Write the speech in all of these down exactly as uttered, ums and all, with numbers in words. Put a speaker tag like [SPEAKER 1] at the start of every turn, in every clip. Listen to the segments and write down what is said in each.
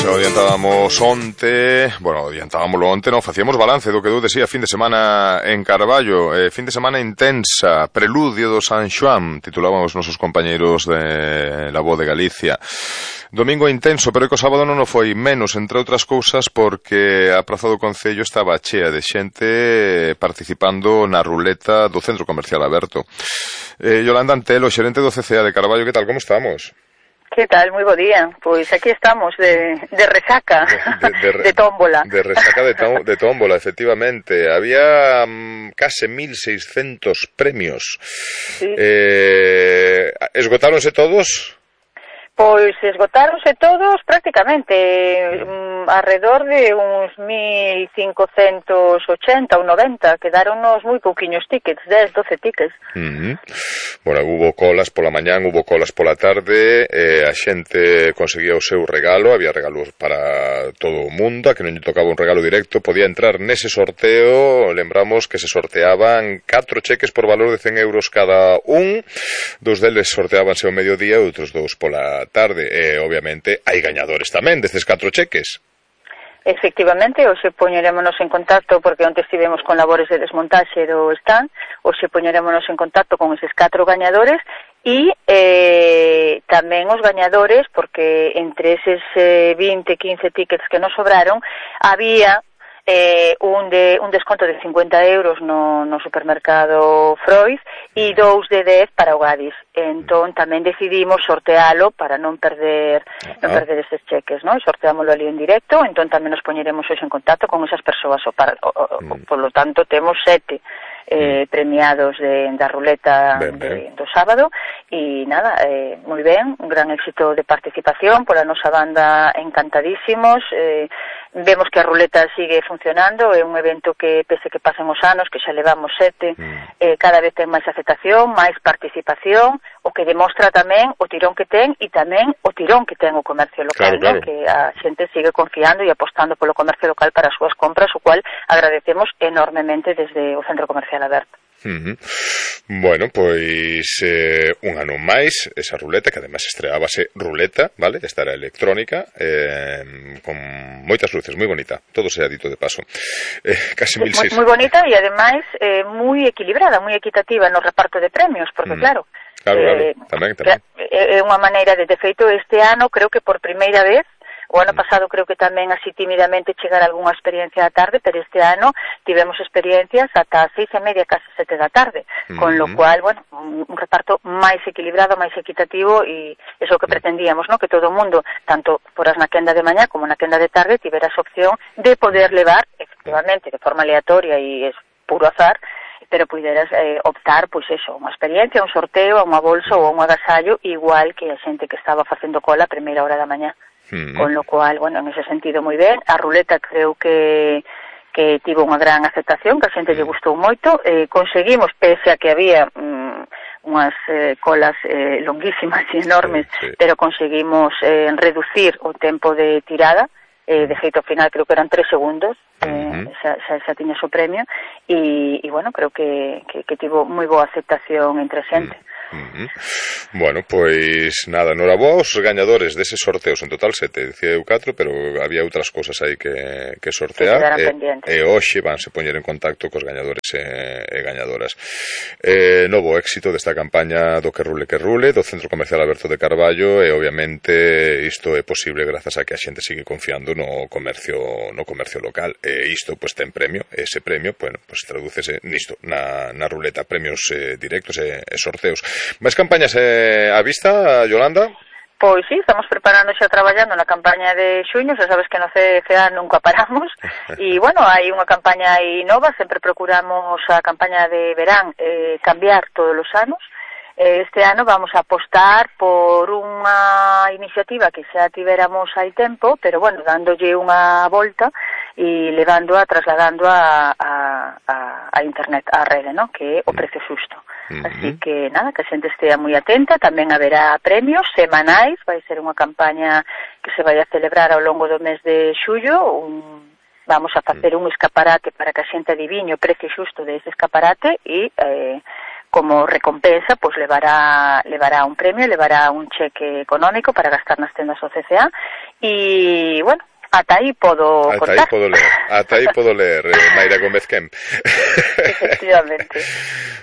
[SPEAKER 1] xa o adiantábamos onte, bueno, adiantábamoslo onte, non, facíamos balance do que deu de si a fin de semana en Carballo, eh, fin de semana intensa, preludio do San Xoán, titulaban os nosos compañeiros de La Voz de Galicia. Domingo intenso, pero que o sábado non o foi menos, entre outras cousas, porque a praza do Concello estaba chea de xente participando na ruleta do Centro Comercial Aberto. Eh, Yolanda Antelo, xerente do C C A de Carballo, que tal, como estamos?
[SPEAKER 2] Que tal? Moi bo día. Pois aquí estamos de, de resaca, de, de, de, de tómbola.
[SPEAKER 1] De resaca de, to, de tómbola, efectivamente. Había um, case mil seiscentos premios. Sí. Eh, esgotáronse todos?
[SPEAKER 2] Pois esgotáronse todos prácticamente, um, alrededor de uns mil cincocentos ochenta ou noventa, quedáronos moi pouquiños tickets, dez, doce tickets.
[SPEAKER 1] Uh-huh. Bueno, hubo colas pola mañán, hubo colas pola tarde, eh, a xente conseguía o seu regalo, había regalos para todo o mundo, a que non lle tocaba un regalo directo, podía entrar nese sorteo, lembramos que se sorteaban catro cheques por valor de cen euros cada un, dos deles sorteábanse ao mediodía e outros dous pola tarde, e obviamente hai gañadores tamén destes catro cheques.
[SPEAKER 2] Efectivamente, hoxe poñerémonos en contacto, porque onte estivemos con labores de desmontaxe do stand, hoxe poñerémonos en contacto con eses catro gañadores e eh, tamén os gañadores, porque entre eses eh, vinte, quince tickets que nos sobraron, había Eh, un, de, un desconto de cincuenta euros no, no supermercado Freud e dous de dez para o Gadis. Entón tamén decidimos sortealo para non perder non perder estes cheques, non? Sorteámoslo ali en directo, entón tamén nos poñeremos hoxe en contacto con esas persoas. O para, o, o, mm. Por lo tanto, temos sete eh, mm. premiados de, da ruleta ben, ben. De, do sábado e nada, eh, moi ben, un gran éxito de participación pola nosa banda, encantadísimos. eh, Vemos que a ruleta sigue funcionando, é un evento que, pese que pasen os anos, que xa levamos sete, mm. eh, cada vez ten máis aceptación, máis participación, o que demostra tamén o tirón que ten e tamén o tirón que ten o comercio local, claro, claro. Que a xente sigue confiando e apostando polo comercio local para as súas compras, o cual agradecemos enormemente desde o Centro Comercial Aberto.
[SPEAKER 1] Uh-huh. Bueno, pois eh, un ano máis esa ruleta, que ademais estreábase ruleta, vale? Esta era electrónica, eh, con moitas luces, moi bonita, todo sea dito de paso, eh, casi mil seiscentos.
[SPEAKER 2] Moi bonita e ademais eh, moi equilibrada, moi equitativa no reparto de premios, porque mm. claro,
[SPEAKER 1] claro, claro,
[SPEAKER 2] eh,
[SPEAKER 1] tamén, tamén.
[SPEAKER 2] É unha maneira de, de feito, este ano creo que por primeira vez, o ano pasado creo que tamén así tímidamente chegar algunha experiencia da tarde, pero este ano tivemos experiencias ata as seis e media, casi sete da tarde, mm-hmm. con lo cual, bueno, un, un reparto máis equilibrado, máis equitativo, e eso que pretendíamos, ¿no? Que todo o mundo, tanto por as na quenda de mañá como na quenda de tarde, tivera esa opción de poder levar, efectivamente, de forma aleatoria e es puro azar, pero puderas eh, optar, pois eso, unha experiencia, un sorteo, unha bolsa ou un agasallo, igual que a xente que estaba facendo cola a primeira hora da mañá. Mm. Con lo cual, bueno, en ese sentido moi ben. A ruleta creo que que tivo unha gran aceptación, que a xente lle gustou moito. Eh, conseguimos, pese a que había mm, unhas eh, colas eh, longuísimas e enormes, sí, sí. pero conseguimos eh, reducir o tempo de tirada. Eh, de feito, ao final, creo que eran tres segundos, eh, uh-huh. xa, xa, xa tiña o premio, e, e bueno, creo que, que, que tivo moi boa aceptación entre a xente.
[SPEAKER 1] Uh-huh. Bueno, pois nada, noraboa aos gañadores deses sorteos, en total sete, dicía eu catro, pero había outras cousas aí que, que sortear, e, e hoxe vanse poñer en contacto cos gañadores e, e gañadoras. Eh, novo éxito desta campaña do que rule que rule, do Centro Comercial Aberto de Carballo, e obviamente isto é posible grazas a que a xente sigue confiando no comercio no comercio local, e isto pois ten premio, e ese premio, bueno, pois tradúcese nisto, na, na ruleta, premios eh, directos e, e sorteos. Máis campañas eh, á vista, Yolanda?
[SPEAKER 2] Pois sí, estamos preparando xa traballando na campaña de xuño, xa sabes que no C C A nunca paramos, e bueno, hai unha campaña aí nova, sempre procuramos a campaña de verán eh, cambiar todos os anos. Este ano vamos a apostar por unha iniciativa que xa tiveramos hai tempo, pero bueno, dándolle unha volta e levándoa, trasladándoa a, a, a internet, a rede, ¿no? Que é o precio xusto. Uh-huh. Así que, nada, que a xente estea moi atenta, tamén haberá premios semanais, vai ser unha campaña que se vai a celebrar ao longo do mes de xullo, un, vamos a facer un escaparate para que a xente adiviñe o precio xusto dese escaparate e... Eh, como recompensa, pues levará, levará un premio, levará un cheque económico para gastar nas tendas O C C A e, bueno, ata aí podo
[SPEAKER 1] ata
[SPEAKER 2] contar.
[SPEAKER 1] Aí podo ler, ata aí podo ler, eh, Mayra Gómez Kemp.
[SPEAKER 2] Efectivamente.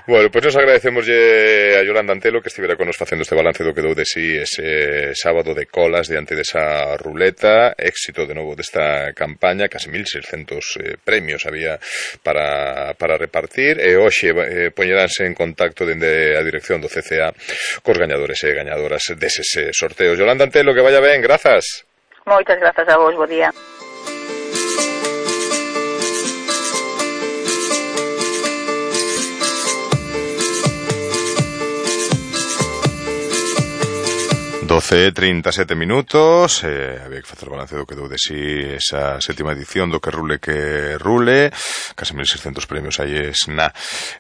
[SPEAKER 1] Bueno, pois pues nos agradecemos a Yolanda Antelo que estivera con nos facendo este balance do que dou de si ese sábado de colas diante desa ruleta, éxito de novo desta campaña, casi mil seiscentos eh, premios había para, para repartir, e hoxe eh, poñeránse en contacto dende a dirección do C C A cos gañadores e gañadoras deses sorteos. Yolanda Antelo, que vaya ben, grazas.
[SPEAKER 2] Moitas grazas a vos, bo día.
[SPEAKER 1] doce e trinta e sete minutos, eh, había que facer o balance do que dou de si esa sétima edición do que rule que rule, case mil seiscentos premios aí es na.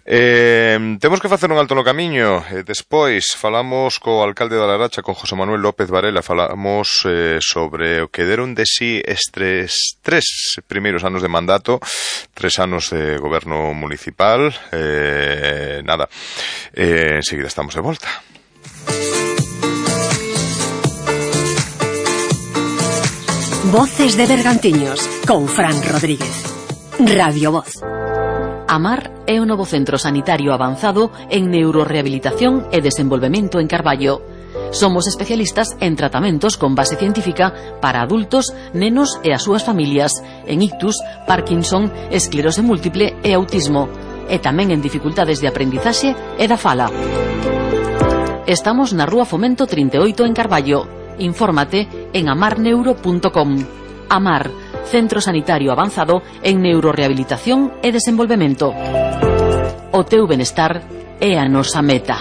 [SPEAKER 1] Eh, temos que facer un alto no camiño, eh, despois falamos co alcalde da Laracha, con José Manuel López Varela, falamos eh, sobre o que deron de si estes tres primeiros anos de mandato, tres anos de goberno municipal, eh, nada, eh, enseguida estamos de volta.
[SPEAKER 3] Voces de Bergantiños, con Fran Rodríguez. Radio Voz.
[SPEAKER 4] AMAR é o novo centro sanitario avanzado en neurorehabilitación e desenvolvemento en Carballo. Somos especialistas en tratamentos con base científica para adultos, nenos e as súas familias, en ictus, Parkinson, esclerose múltiple e autismo, e tamén en dificultades de aprendizaxe e da fala. Estamos na Rúa Fomento trinta e oito en Carballo. Infórmate en amar neuro punto com. AMAR, Centro Sanitario Avanzado en Neurorehabilitación e Desenvolvemento. O teu benestar é a nosa meta.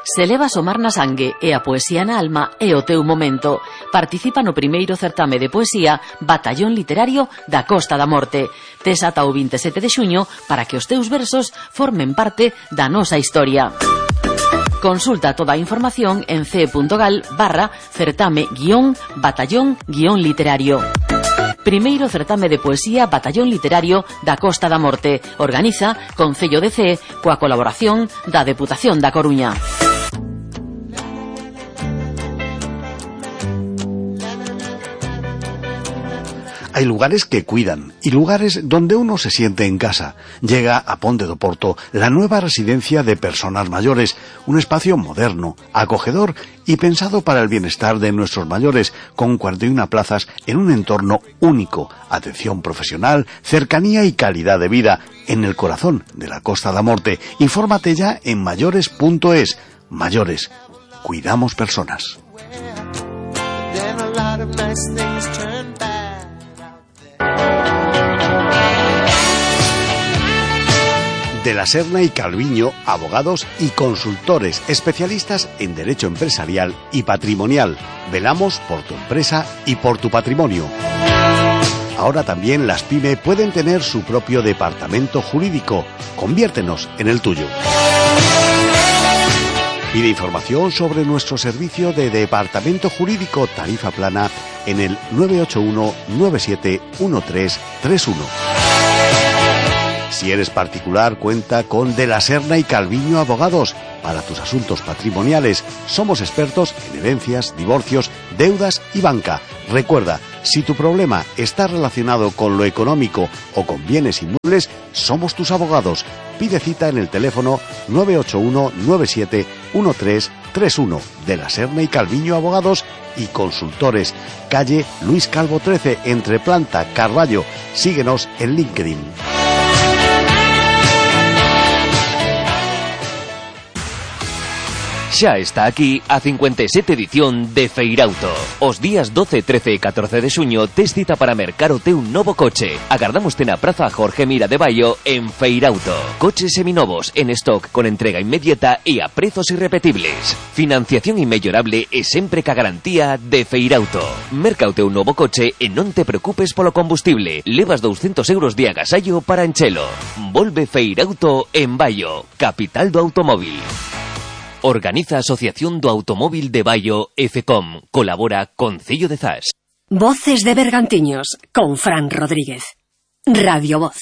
[SPEAKER 4] Se levas o mar na sangue e a poesía na alma é o teu momento. Participa no primeiro certame de poesía Batallón Literario da Costa da Morte. Tes ata o vinte e sete de xuño para que os teus versos formen parte da nosa historia. Consulta toda a información en ce.gal barra certame guión batallón guión literario. Primeiro certame de poesía Batallón Literario da Costa da Morte. Organiza Concello de Cee coa colaboración da Deputación da Coruña.
[SPEAKER 5] Hay lugares que cuidan y lugares donde uno se siente en casa. Llega a Ponte do Porto la nueva residencia de personas mayores, un espacio moderno, acogedor y pensado para el bienestar de nuestros mayores, con cuarenta y una plazas en un entorno único, atención profesional, cercanía y calidad de vida, en el corazón de la Costa da Morte. Infórmate ya en mayores punto es. Mayores, cuidamos personas. De la Serna y Calviño, abogados y consultores especialistas en derecho empresarial y patrimonial. Velamos por tu empresa y por tu patrimonio. Ahora también las pyme pueden tener su propio departamento jurídico. Conviértenos en el tuyo. Pide información sobre nuestro servicio de departamento jurídico tarifa plana en el nueve ocho uno nueve siete uno tres tres uno. Si eres particular, cuenta con De la Serna y Calviño Abogados. Para tus asuntos patrimoniales, somos expertos en herencias, divorcios, deudas y banca. Recuerda, si tu problema está relacionado con lo económico o con bienes inmuebles, somos tus abogados. Pide cita en el teléfono nueve ocho uno nueve siete uno tres tres uno. De la Serna y Calviño Abogados y Consultores. Calle Luis Calvo trece, entre Planta, Carballo. Síguenos en LinkedIn.
[SPEAKER 6] Xa está aquí a cincuenta e sete edición de Feirauto. Os días doce, trece e catorce de xuño tes cita para mercar o teu novo coche. Agardámoste na Praza Jorge Mira de Baio en Feirauto. Coches seminovos en stock con entrega inmediata e a prezos irrepetibles. Financiación inmellorable e sempre ca garantía de Feirauto. Merca o teu novo coche e non te preocupes polo combustible. Levas doscientos euros de agasallo para enchelo. Volve Feirauto en Baio, capital do automóvil. Organiza Asociación do Automóvil de Baio e FECOM. Colabora Concello de Zas.
[SPEAKER 3] Voces de Bergantiños, con Fran Rodríguez. Radio Voz.